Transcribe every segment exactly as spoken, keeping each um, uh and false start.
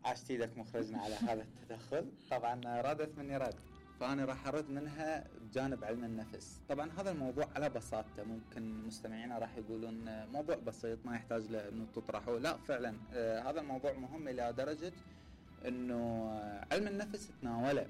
عاشت ايدك مخرجنا على هذا التدخل. طبعا ردت مني رد، فأنا راح أرد منها بجانب علم النفس. طبعا هذا الموضوع على بساطته ممكن مستمعينا راح يقولون موضوع بسيط ما يحتاج لأنه تطرحه. لا فعلا آه هذا الموضوع مهم إلى درجة أنه علم النفس تناوله.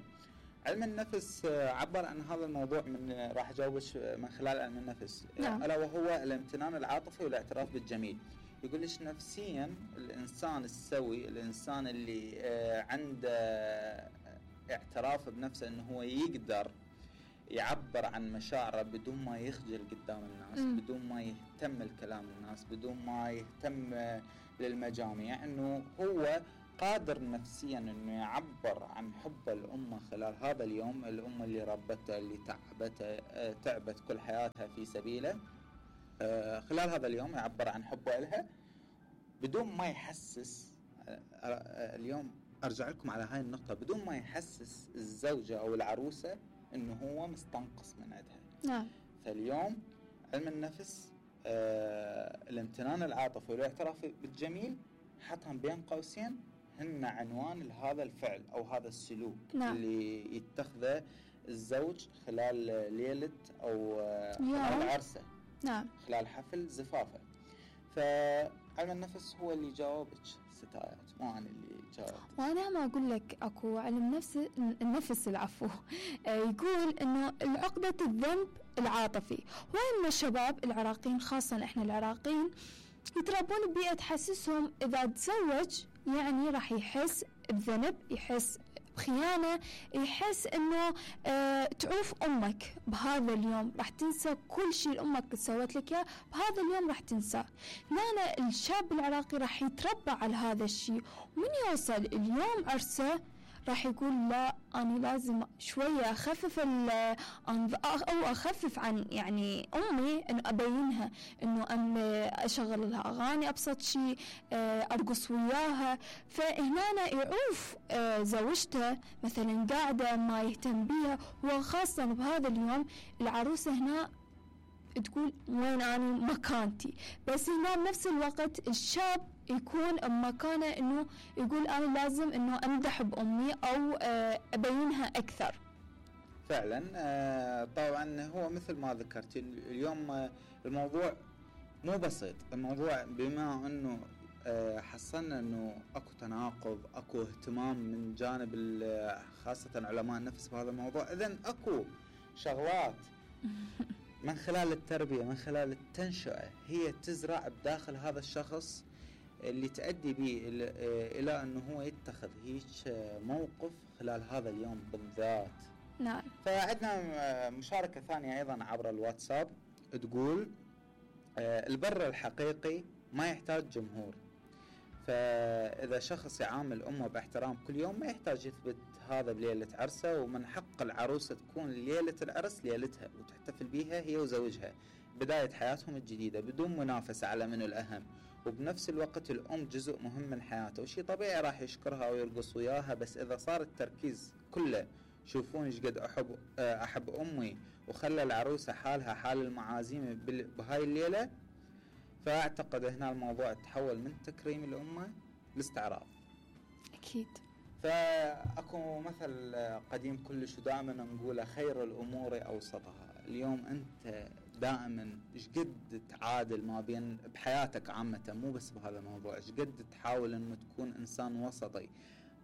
علم النفس آه عبر عن هذا الموضوع من راح أجاوبش من خلال علم النفس، نعم. ألا وهو الامتنان العاطفي والاعتراف بالجميل. يقول ليش نفسيا الإنسان السوي، الإنسان اللي آه عنده آه اعتراف بنفسه انه هو يقدر يعبر عن مشاعره بدون ما يخجل قدام الناس، م. بدون ما يهتم الكلام الناس، بدون ما يهتم للمجاميع، انه هو قادر نفسيا انه يعبر عن حب الامه خلال هذا اليوم، الامه اللي ربته اللي تعبته تعبت كل حياتها في سبيله، خلال هذا اليوم يعبر عن حبه لها بدون ما يحسس. اليوم أرجع لكم على هاي النقطة، بدون ما يحسس الزوجة أو العروسة إنه هو مستنقص من عندها. نعم. فاليوم علم النفس آه الامتنان العاطفي والاعتراف بالجميل حطهم بين قوسين هن عنوان لهذا الفعل أو هذا السلوك. نعم. اللي يتخذه الزوج خلال ليلة أو خلال عرسه. نعم. خلال حفل زفافه. فعلم النفس هو اللي جاوبك ستايات، مو أنا اللي جاوبت. وأنا ما أقول لك أكو علم نفس النفس العفو يقول إنه العقدة الذنب العاطفي. وإن الشباب العراقيين خاصة إحنا العراقيين يتربون ببيئة تحسسهم إذا تزوج يعني راح يحس بذنب، يحس بخيانة، يحس انه اه تعوف امك بهذا اليوم، راح تنسى كل شيء امك سوت لك اياه بهذا اليوم، راح تنسى. لا الشاب العراقي راح يتربى على هذا الشيء، ومن يوصل اليوم عرسه راح يقول لا أنا لازم شوية أخفف أو أخفف عن يعني أمي، إنه أبينها إنه أم أشغل لها أغاني أبسط شيء، أرقص وياها. فهنا يعوف زوجته مثلا قاعدة ما يهتم بيها، وخاصة بهذا اليوم العروسة هنا تقول وين أنا مكانتي. بس هنا بنفس الوقت الشاب يكون بمكانه انه يقول انا لازم انه امدح بامي او ابينها اكثر. فعلا طبعا هو مثل ما ذكرت اليوم الموضوع مو بسيط. الموضوع بما انه حصلنا انه اكو تناقض، اكو اهتمام من جانب خاصة علماء النفس بهذا الموضوع، اذن اكو شغلات من خلال التربية من خلال التنشئة هي تزرع بداخل هذا الشخص اللي تؤدي به إلى أنه هو يتخذ هيك موقف خلال هذا اليوم بالذات. نعم. فعندنا مشاركة ثانية أيضا عبر الواتساب تقول البر الحقيقي ما يحتاج جمهور. فإذا شخص يعامل أمه باحترام كل يوم ما يحتاج يثبت هذا بليلة عرسه، ومن حق العروسة تكون ليلة العرس ليلتها وتحتفل بيها هي وزوجها بداية حياتهم الجديدة بدون منافسة على من الأهم. وبنفس الوقت الأم جزء مهم من حياته، وشي طبيعي راح يشكرها ويرقص وياها، بس إذا صار التركيز كله شوفون إيش قد أحب أحب أمي وخلى العروسة حالها حال المعازيم بهاي الليلة، فأعتقد هنا الموضوع تحول من تكريم الأمة لاستعراض. أكيد. فأكو مثل قديم كلش ودائما نقوله خير الأمور أوسطها. اليوم أنت دائما إيش قد تعادل ما بين بحياتك عامة، مو بس بهذا الموضوع، إيش قد تحاول أنه تكون إنسان وسطي،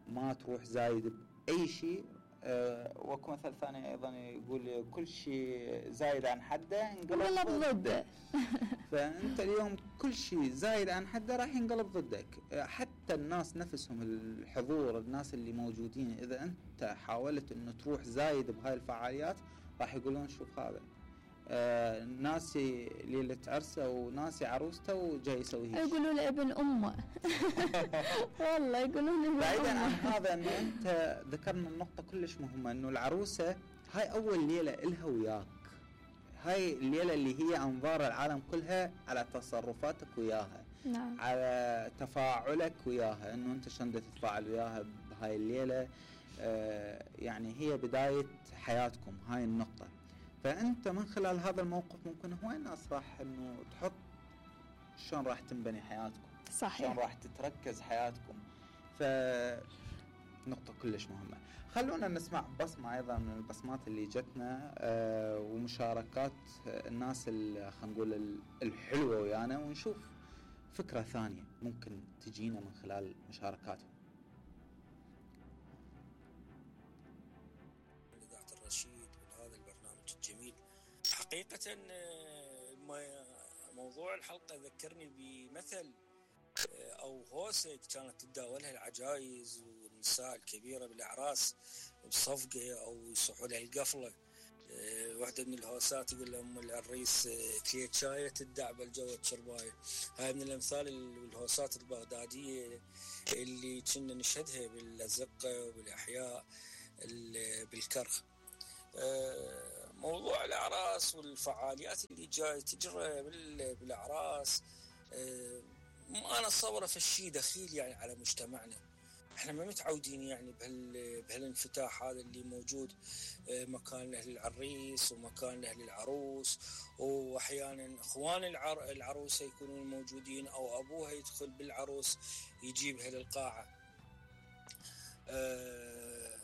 ما تروح زايد بأي شيء. أه وكو مثل ثاني أيضا يقول كل شيء زايد عن حده انقلب ضده. فأنت اليوم كل شيء زايد عن حده راح ينقلب ضدك. حتى الناس نفسهم الحضور الناس اللي موجودين إذا أنت حاولت أنه تروح زايد بهاي الفعاليات راح يقولون شوف هذا آه ناسي ليلة عرسه وناسي عروسته وجاي يسوي هيك، يقولوا له ابن أمه. والله يقولون ابن بعيدا عن هذا أنه أنت ذكرنا النقطة كلش مهمة، أنه العروسة هاي أول ليلة إلها وياك، هاي الليلة اللي هي أنظار العالم كلها على تصرفاتك وياها. نعم. على تفاعلك وياها، أنه أنت شلون تتفاعل وياها بهاي الليلة. آه يعني هي بداية حياتكم هاي النقطة. فأنت من خلال هذا الموقف ممكن هواي الناس راح أنه تحط شلون راح تنبني حياتكم، صحيح، شلون راح تتركز حياتكم. فنقطة كلش مهمة. خلونا نسمع بصمة أيضا من البصمات اللي جتنا أه ومشاركات الناس اللي خلينا نقول الحلوة ويانا، ونشوف فكرة ثانية ممكن تجينا من خلال مشاركاتهم. إذاعة الرشيد وهذا البرنامج الجميل. حقيقة موضوع الحلقة ذكرني بمثل أو هوسة كانت تتداولها العجائز والنساء الكبيرة بالأعراس بصفقة أو يصحوا لها القفلة. واحدة من الهوسات يقول لهم العريس كليت شاية تدع بالجو شرباية. هاي من الأمثال والهوسات البغدادية اللي كنا نشهدها بالأزقة وبالأحياء بالكرخ. موضوع الأعراس والفعاليات اللي جاي تجرى بالأعراس أنا صورة في الشيء دخيل يعني على مجتمعنا. احنا ما متعودين يعني بهال بهالانفتاح هذا اللي موجود، مكان له للعريس ومكان له للعروس، واحيانا اخوان العر... العروسه يكونون موجودين او ابوها يدخل بالعروس يجيبها للقاعه. أه...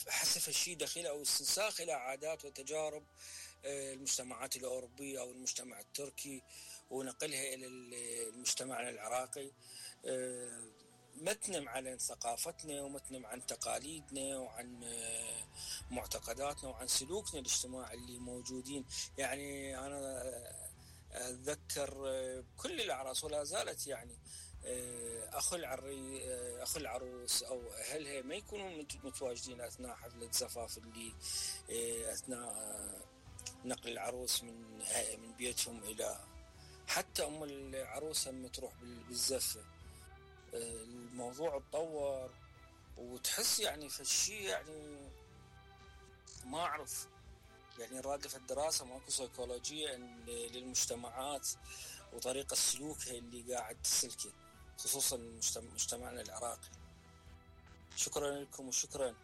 حسب الشيء دخيل او استنساخ الى عادات وتجارب المجتمعات الاوروبيه او المجتمع التركي ونقلها الى المجتمع العراقي. أه... ما تنم عن ثقافتنا وما تنم عن تقاليدنا وعن معتقداتنا وعن سلوكنا الاجتماعي اللي موجودين. يعني أنا أتذكر كل الأعراس ولا زالت يعني أخو العري أخو العروس أو أهلها ما يكونون متواجدين أثناء حفلة زفاف اللي أثناء نقل العروس من من بيتهم إلى حتى أم العروس هم تروح بالزفة. الموضوع اتطور وتحس يعني في الشيء يعني ما أعرف يعني رادف الدراسة ماكو سيكولوجية للمجتمعات وطريقة سلوكها اللي قاعد تسلكه خصوصا مجتمعنا العراقي. شكرا لكم وشكرا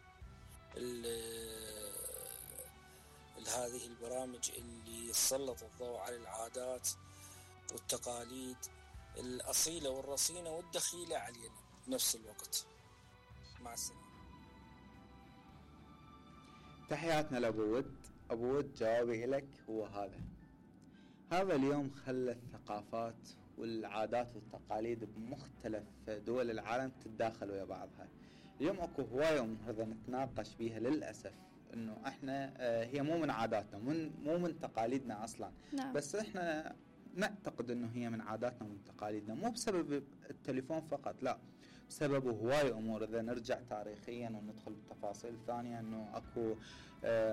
لهذه البرامج اللي سلط الضوء على العادات والتقاليد الأصيلة والرصينة والدخيلة علينا بنفس الوقت. مع السلامة. تحياتنا لأبو ود. أبو ود جوابي لك هو هذا هذا اليوم خلى الثقافات والعادات والتقاليد بمختلف دول العالم تتداخل ويا بعضها. اليوم اكو هواية أمور نتناقش بيها للأسف انه احنا هي مو من عاداتنا من مو من تقاليدنا اصلا. نعم. بس احنا نعتقد انه هي من عاداتنا ومن تقاليدنا، مو بسبب التليفون فقط، لا بسبب هواي امور. اذا نرجع تاريخيا وندخل بتفاصيل ثانيه انه اكو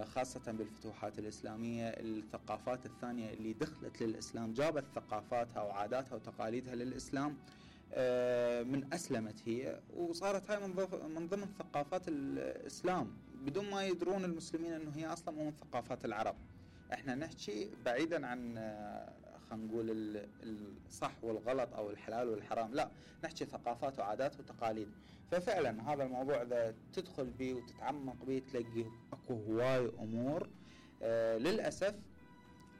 خاصه بالفتوحات الاسلاميه الثقافات الثانيه اللي دخلت للاسلام جابت ثقافاتها وعاداتها وتقاليدها للاسلام من اسلمت هي وصارت هاي من ضمن ثقافات الاسلام بدون ما يدرون المسلمين انه هي اصلا مو من ثقافات العرب. احنا نحكي بعيدا عن خلينا نقول الصح والغلط او الحلال والحرام، لا نحكي ثقافات وعادات وتقاليد. ففعلا هذا الموضوع اذا تدخل به وتتعمق به تلاقي اكو هواي امور آه للاسف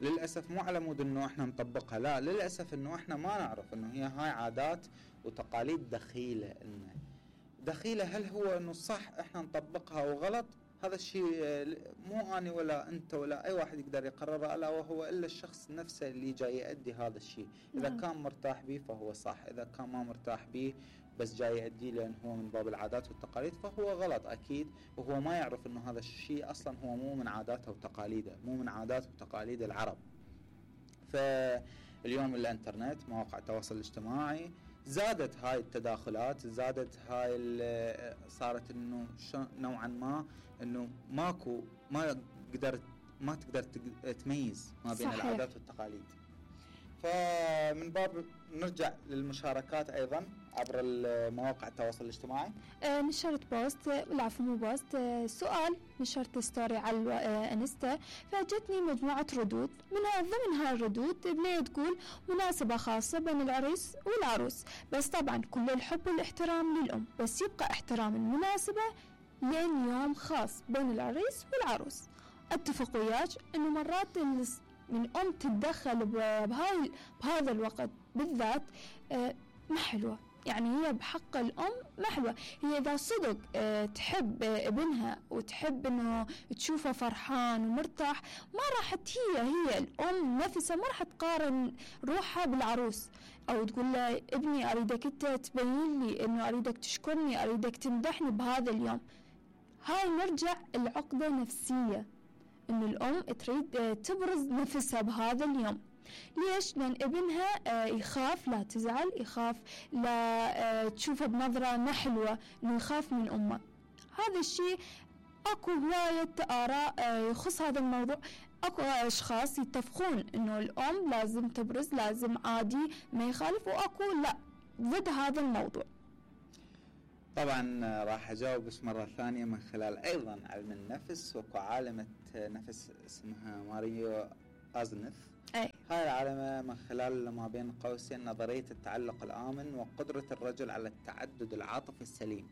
للاسف مو على مود انه احنا نطبقها، لا للاسف انه احنا ما نعرف انه هي هاي عادات وتقاليد دخيله لنا. دخيله هل هو انه صح احنا نطبقها وغلط؟ هذا الشيء مو أنا ولا أنت ولا أي واحد يقدر يقرره، ألا وهو إلا الشخص نفسه اللي جاي يؤدي هذا الشيء. إذا نعم. كان مرتاح به فهو صح، إذا كان ما مرتاح به بس جاي يؤدي لأنه هو من باب العادات والتقاليد فهو غلط أكيد، وهو ما يعرف أنه هذا الشيء أصلا هو مو من عاداته وتقاليده، مو من عادات وتقاليد العرب. فاليوم الإنترنت مواقع التواصل الاجتماعي زادت هاي التداخلات، زادت هاي صارت انه نوعا ما انه ماكو ما قدرت ما تقدر تميز ما بين صحيح. العادات والتقاليد. فمن باب نرجع للمشاركات ايضا عبر مواقع التواصل الاجتماعي. آه نشرت بوست، العفو مو بوست، آه سؤال نشرت ستوري على آه انستا، فاجتني مجموعة ردود. منها ضمن هاي الردود بنية تقول مناسبة خاصة بين العريس والعروس، بس طبعا كل الحب والاحترام للأم، بس يبقى احترام المناسبة لين يوم خاص بين العريس والعروس. اتفق وياك انه مرات من ام تتدخل بهاي بهذا الوقت بالذات آه ما حلوة. يعني هي بحق الأم محوة. هي إذا صدق اه تحب ابنها وتحب إنه تشوفه فرحان ومرتاح، ما راح هي هي الأم نفسها ما راح تقارن روحها بالعروس، أو تقول له ابني أريدك أنت تبين لي إنه أريدك تشكرني، أريدك تمدحني بهذا اليوم. هاي نرجع العقدة نفسية، إنه الأم تريد تبرز نفسها بهذا اليوم. ليش؟ لأن ابنها يخاف لا تزعل، يخاف لا تشوفه بنظرة ما حلوة، إنه يخاف من أمه. هذا الشيء أكو هواية آراء يخص هذا الموضوع. أكو أشخاص يتفقون إنه الأم لازم تبرز، لازم عادي ما يخالف، وأكو لا ضد هذا الموضوع. طبعا راح أجاوب بس مرة ثانية من خلال أيضا علم النفس. وكو عالمة نفس اسمها ماريو أزنف. أي. هاي العالمة من خلال ما بين قوسين نظرية التعلق الآمن وقدرة الرجل على التعدد العاطفي السليم.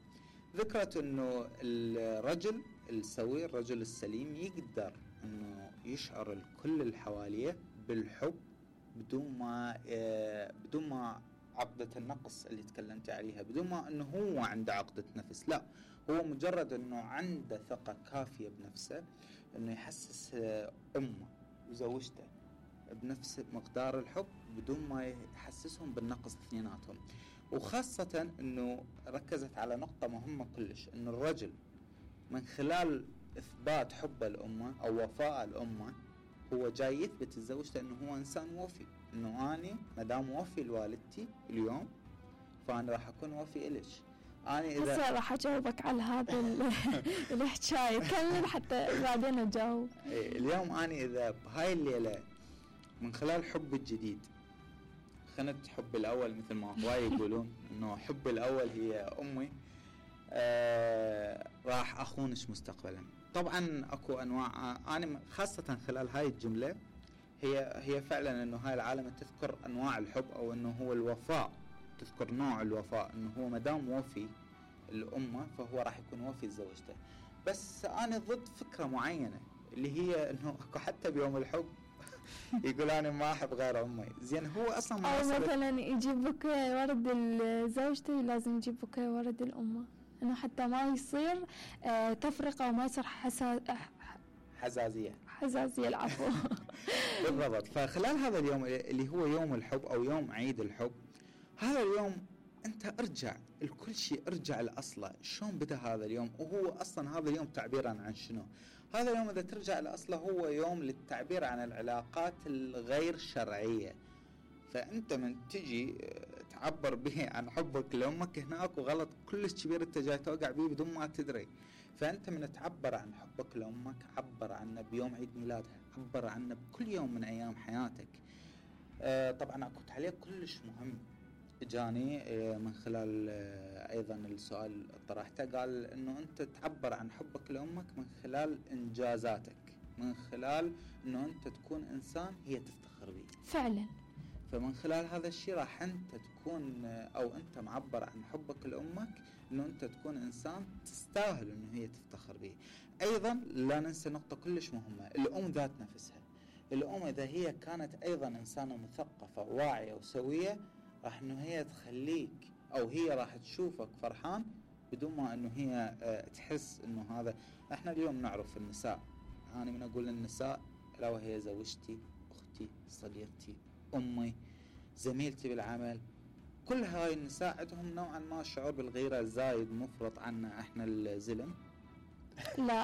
ذكرت انه الرجل السوي، الرجل السليم، يقدر انه يشعر الكل اللي حواليه بالحب بدون ما بدون ما عقدة النقص اللي تكلمت عليها، بدون ما انه هو عنده عقدة نفس. لا، هو مجرد انه عنده ثقة كافية بنفسه انه يحسس امه وزوجته بنفس مقدار الحب بدون ما يحسسهم بالنقص اثنيناتهم. وخاصة انه ركزت على نقطة مهمة كلش، انه الرجل من خلال اثبات حبه لامه او وفاء لامه هو جاي يثبت لزوجته انه هو انسان وفي، انه اني مدام وفي لوالدتي اليوم فانا راح اكون وفي الش. انا اذا هسه راح اجاوبك على هذا الحكاية، كمل حتى بعدين اجاوب. اليوم انا اذا بهاي الليلة من خلال حب الجديد خنت حب الأول مثل ما هواي يقولون إنه حب الأول هي أمي، آه راح أخونش مستقبلا. طبعا أكو أنواع، أنا خاصة خلال هاي الجملة هي هي فعلا إنه هاي العالم تذكر أنواع الحب أو إنه هو الوفاء، تذكر نوع الوفاء إنه هو مدام وفي الأمة فهو راح يكون وفي لزوجته. بس أنا ضد فكرة معينة اللي هي إنه أكو حتى بيوم الحب يقول أنا ما أحب غير أمي. زين هو أصلا ما أو مثلا يجيب بوكيه ورد لزوجته لازم يجيب بوكيه ورد الأمة، إنه حتى ما يصير آه تفرقة وما يصير حسا... حزازية حزازية العفو. بالضبط. فخلال هذا اليوم اللي هو يوم الحب أو يوم عيد الحب، هذا اليوم أنت ارجع الكل شيء، ارجع لأصله. شلون بدأ هذا اليوم؟ وهو أصلا هذا اليوم تعبيرا عن شنو؟ هذا اليوم إذا ترجع لأصله هو يوم للتعبير عن العلاقات الغير شرعية. فأنت من تجي تعبر به عن حبك لأمك هناك وغلط كلش كبير أنت جاي توقع به بدون ما تدري. فأنت من تعبر عن حبك لأمك عبر عنه بيوم عيد ميلادها، عبر عنه بكل يوم من أيام حياتك. آه طبعا أكو تعليق كلش مهم جاني آه من خلال آه أيضا السؤال اللي طرحته، قال إنه أنت تعبر عن حبك لأمك من خلال إنجازاتك، من خلال إنه أنت تكون إنسان هي تفتخر به. فعلا. فمن خلال هذا الشيء راح أنت تكون أو أنت معبر عن حبك لأمك إنه أنت تكون إنسان تستاهل إنه هي تفتخر به. أيضا لا ننسى نقطة كلش مهمة، الأم ذات نفسها. الأم إذا هي كانت أيضا إنسانة مثقفة واعية وسوية راح إنه هي تخليك أو هي راح تشوفك فرحان بدون ما إنه هي تحس إنه هذا. إحنا اليوم نعرف النساء، أنا من أقول النساء لا وهي زوجتي، أختي، صديقتي، أمي، زميلتي بالعمل، كل هاي النساء عندهم نوعا ما شعور بالغيرة الزايد مفرط عنا احنا الزلم. لا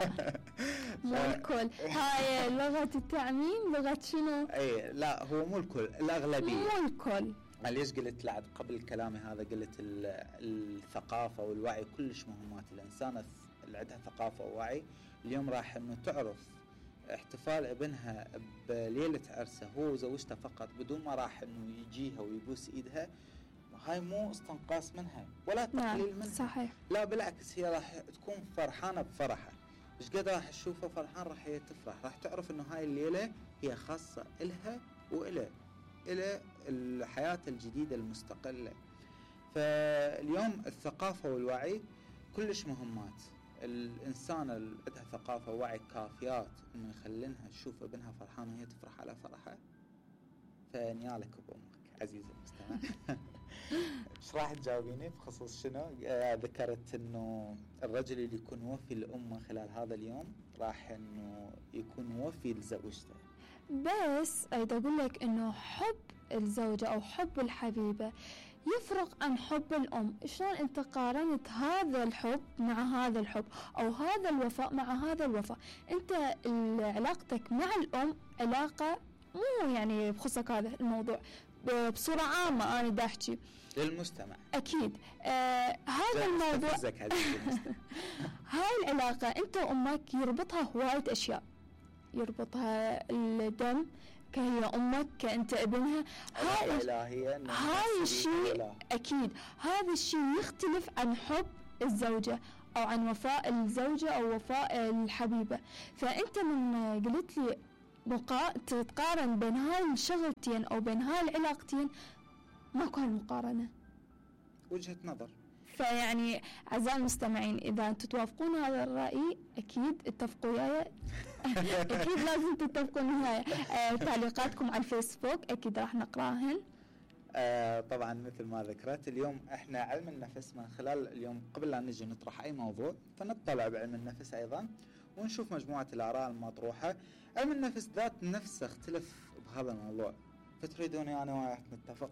مو الكل، هاي لغة التعميم، لغة شنو؟ اي لا هو مو الكل، الأغلبية مو الكل. ليش قلت لعد قبل كلامي هذا قلت الثقافة والوعي كلش مهمات. الإنسان اللي عندها ثقافة ووعي اليوم راح انه تعرف احتفال ابنها بليلة عرسه هو وزوجته فقط بدون ما راح انه يجيها ويبوس ايدها، هاي مو استنقاص منها ولا تقليل منها. صحيح. لا بالعكس، هي راح تكون فرحانة بفرحة. ايش قد راح تشوفه فرحان راح هي تفرح، راح تعرف انه هاي الليلة هي خاصة إلها وإله إلى الحياة الجديدة المستقلة. فاليوم الثقافة والوعي كلش مهمات. الإنسان اللي عندها ثقافة ووعي كافيات إنه يخلينها تشوف ابنها فرحان وهي تفرح على فرحه، فنيالك بأمك عزيزي المستمع. ايش راح تجاوبيني بخصوص شنو؟ آه ذكرت انه الرجل اللي يكون وفي لأمه خلال هذا اليوم راح انه يكون وفي لزوجته. بس أريد أقول لك إنه حب الزوجة أو حب الحبيبة يفرق عن حب الأم. شلون أنت قارنت هذا الحب مع هذا الحب أو هذا الوفاء مع هذا الوفاء؟ أنت علاقتك مع الأم علاقة مو يعني بخصك هذا الموضوع، بصورة عامة أنا دا أحكي للمجتمع أكيد. آه هذا الموضوع هاي العلاقة أنت وأمك يربطها هواية أشياء، يربطها الدم كهي أمك كأنت ابنها. هاي هاي الشيء أكيد، هذا الشيء يختلف عن حب الزوجة أو عن وفاء الزوجة أو وفاء الحبيبة. فأنت من قلت لي مقا... تتقارن بين هاي الشغلتين أو بين هاي العلاقتين، ما كان مقارنة، وجهة نظر. فيعني أعزائي المستمعين إذا أنتم توافقون هذا الرأي أكيد اتفقوا وياي. أكيد لازم تتفقوا معايا. آه تعليقاتكم على الفيسبوك أكيد راح نقراهن. آه طبعا مثل ما ذكرت اليوم احنا علم النفس، من خلال اليوم قبل لا نجي نطرح أي موضوع فنطلع بعلم النفس أيضا ونشوف مجموعة الآراء المطروحة. علم النفس ذات نفسه اختلف بهذا الموضوع، فتريدوني أنا وياك نتفق؟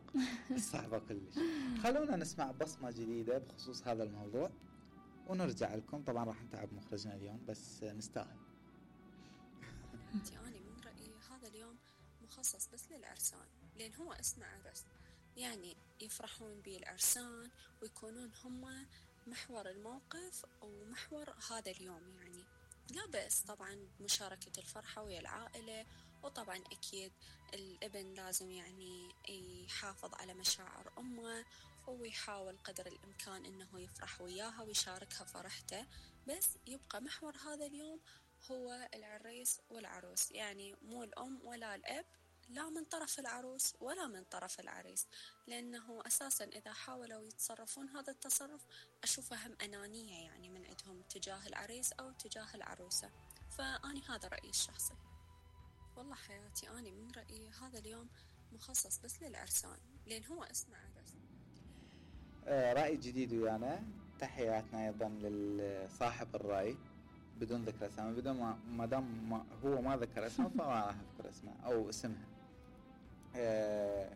صعبة كلش. خلونا نسمع بصمة جديدة بخصوص هذا الموضوع ونرجع لكم. طبعا راح نتعب مخرجنا اليوم بس نستاهل. أنا من رأيي هذا اليوم مخصص بس للعرسان، لأن هو اسمه عرس، يعني يفرحون به العرسان ويكونون هم محور الموقف ومحور هذا اليوم. يعني لا بأس طبعا بمشاركة الفرحة ويا العائلة، وطبعا أكيد الابن لازم يعني يحافظ على مشاعر أمه ويحاول قدر الإمكان أنه يفرح وياها ويشاركها فرحته، بس يبقى محور هذا اليوم هو العريس والعروس، يعني مو الأم ولا الأب، لا من طرف العروس ولا من طرف العريس، لأنه أساسا إذا حاولوا يتصرفون هذا التصرف أشوفه هم أنانية يعني من عندهم تجاه العريس أو تجاه العروسة. فأني هذا رأيي الشخصي. والله حياتي أنا من رأيي هذا اليوم مخصص بس للعرسان، لأن هو اسمه عرس. آه رأي جديد ويانا. تحياتنا أيضا لصاحب الرأي بدون ذكر اسمه، بدون ما ما دام ما هو ما ذكر اسمه فما راح اذكر اسمه او اسمها. آه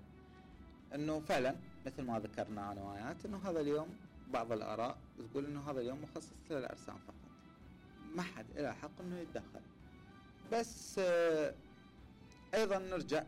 انه فعلا مثل ما ذكرنا انا وياك انه هذا اليوم بعض الاراء تقول انه هذا اليوم مخصص للعرسان فقط، ما حد له حق انه يتدخل. بس آه ايضا نرجع